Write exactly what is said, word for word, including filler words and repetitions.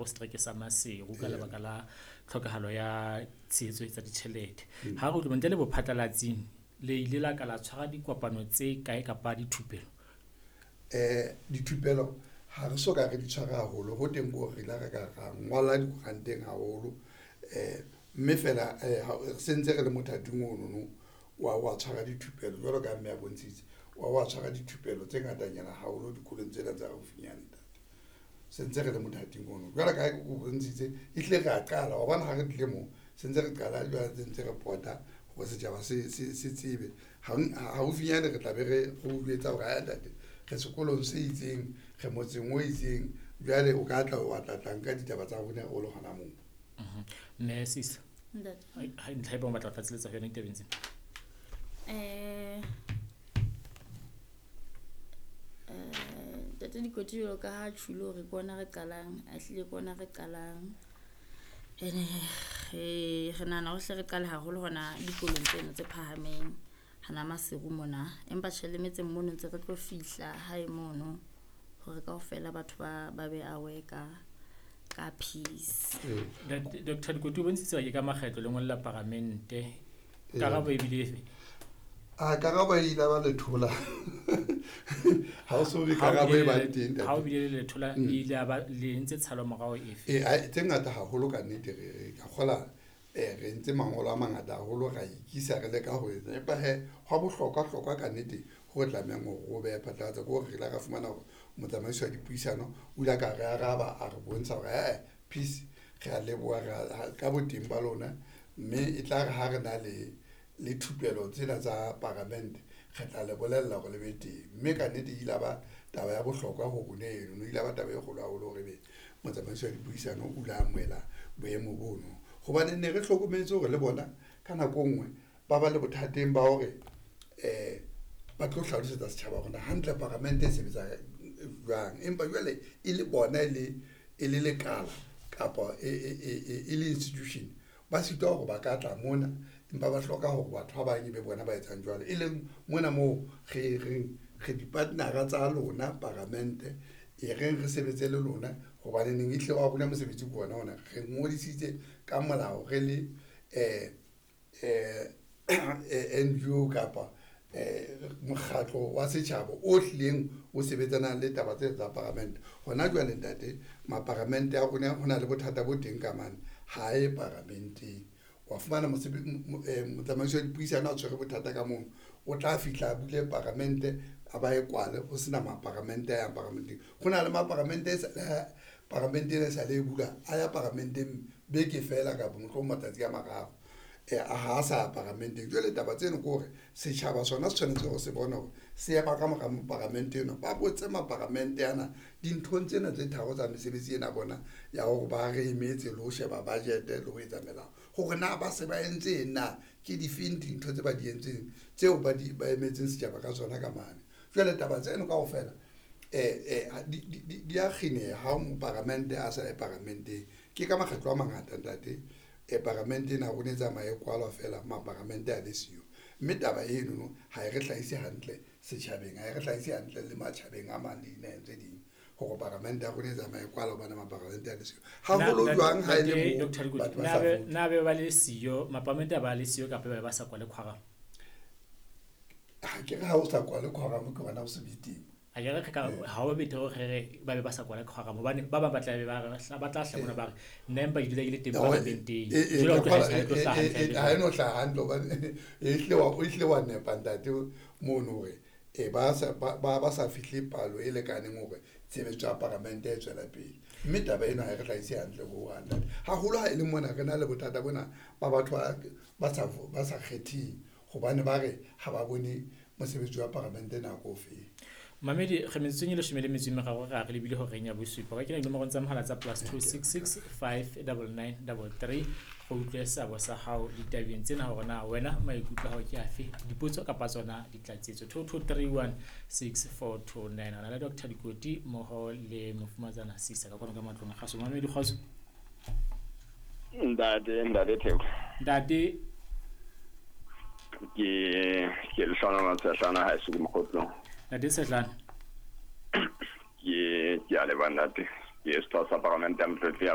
setereke sa Maseru ka lebaka la tlhokahalo ya tshehetso tsa ditjhelete. Ha re utlwe ntle le bophatlalatsing le ile la ka la tshwara dikopano tse kae kapa dithupelo? Eh dithupelo ha re so ka re di tshwara haholo ho teng ko re la re ka ra ngola dikoranteng haholo eh mme fela sentse re le mothating ono no wa wa tshwara dithupelo jwalo ka mme a bontshitse wa wa tshwara dithupelo tse ngatanyana haholo dikolong tsena tsa haufinyane ntate. Sentse re le mothating ono jwalo ka o bontshitse ehlile re a qala wa bona ha re tlile mo sentse re qala jwale sentse re pota hore setjhaba se se se tsebe haufinyane re tla be re re utlwetsa hore a ntate re sekolong se itseng re motseng o itseng jwale o ka tla wa tla tla nka ditaba tsa rona o le hona moo. Mme sis ntate ha ntlha e bang batla tlatseletsa ho yona ditabeng tsena. Eh eh ntate Dikoti jwalo ka ha tjhulo hore ke ona re qalang, a hlile ke ona re qalang. Ene re re nahana hore hle re qale haholo hona dikolong tseno tse phahameng hana Maseru mona. Empa tjhe le metseng mono ntse re tlo fihla hae mono hore kaofela batho ba ba be aware ka ka peace. Doctor Dikoti o bontshitse ke ka makgetlo le ngolla paramente. Karabo e bile efe? A karabo e ile ba lethola. Ha o so be karabo e ba teng. Ha o bile le lethola e ile ba le ntse tshalo morao efe? Eh tse ngata haholo ka nnete re ka kgola eh re ntse mangolo a mangata haholo ra ikisa re leka ho etsa empa he hwa bohlokwa hlokwa ka nnete ho tlamehang hore o behe phatlalatsa ke hore re la ra fumana hore motsamaisi wa dipuisano o ile ka re araba a re bontsha hore eh peace re a leboha ka boteng ba lona mme e tla re ha re na le le thupelo tsena tsa paramente re tla le bolella hore le be teng mme ka nnete e ile ba taba ya bohlokwa ho rona eno e ile ba taba e kgolo haholo hore be motsamaisi wa dipuisano o ile a amohela boemo bono hobane ne re hlokometse hore le bona ka nako nngwe ba ba le bothateng ba hore eh ba tlo hlalosetsa setjhaba hore hantle paramente e sebetsa jwang empa jwale e le bona e le e le lekala kapa e e e le institution ba sitwa hore ba ka tla mona empa ba hloka hore batho ba bang be bona ba etsang jwalo e leng mona moo re reng re di-partnera tsa lona paramente e reng re sebetse le lona hobane neng ehle wa rona mosebetsi ke ona ona re ngodisitse ka molao re le eh eh N G O kapa eh mokgatlo wa setjhaba o hlileng o sebetsanang le taba tse tsa paramente. Hona jwale ntate maparamente a rona ho na le bothata bo teng ka mane ha e paramenteng wa fumana motsamaisi wa dipuisano a tshwere bothata ka mono o tla fihla a bule paramente a ba e kwale ho sena maparamente a yang paramenteng. Ho na le maparamente e sa paramente ena e sa le e bula a ya paramenteng beke fela kapa mohlomong matsatsi a mararo eh ha sa ya paramenteng. Jwale taba tseno ke hore setjhaba sona se tshwanetse hore se bone hore se ema ka mora paramente eno ba botse maparamente ana dinthong tsena tse tharo tsa mesebetsi ena bona ya hore ba re emetse le ho sheba budget le ho etsa melao hore na ba se ba entse na ke difeng dintho tse ba di entseng tseo ba di ba emetseng setjhaba ka tsona ka mane. Jwale taba tseno kaofela eh eh di di di a kgineha ha moparamente a sa ye paramenteng. Ke ka makgetlo a mangata ntate e paramente ena rona e tsamaye kwalwa fela maparamente a le siyo mme taba eno no ha e re hlahise hantle setjhabeng ha e re hlahise hantle le matjhabeng a mang le dinaheng tse ding hore paramente ya rona e tsamaye kwalwa hobane maparamente a le siyo haholo jwang ha e le moo batho ba sa vote. Na be ba le siyo maparamente a ba le siyo kapa ba ba sa kwale quorum? Ha ke re ha o sa kwale quorum ke hona o se be teng. A ke re ka ha o betere hore re ba be ba sa kwale quorum hobane ba bang ba tla be ba re ba tla hla mona ba re nna empa ke dula ke le teng paramenteng. Jwale o tlo hlaha tlo hlaha hantle. Ha e no hlaha hantle hobane e hlile wa o hlile wa nepa ntate mono hore e ba sa ba ba sa fihle palo e lekaneng hore tshebetso ya paramente e tswela pele mme taba ena ha e re hlahise hantle ho hang ntate haholo ha e le mona re na le bothata bona ba batho ba sa ba sa kgething hobane ba re ha ba bone mosebetsi wa paramente nako ofe. Mamedi re metsotsong e leshome le metso e meraro re re lebile horeng ya bosupa. Ka kena dinomorong tsa mohala tsa plus two six six five double nine double three go utlwe seabo sa hao ditabeng tsena hore na wena maikutlo a hao ke afe dipotso kapa tsona ditlatsetso two two three one six four two nine. Re na le Doctor Dikoti mmoho le mofumatsana Sisa ka kwano ka matlong a kgaso. Mamedi kgotso. Ntate ntate Theko. Ntate ke ke Lehlohonolo Tshehlana ha e se mokgotlong. Ntate Tshehlana. Ke ke a leboha ntate. Ke setho sa paramente ya Motlotlegi.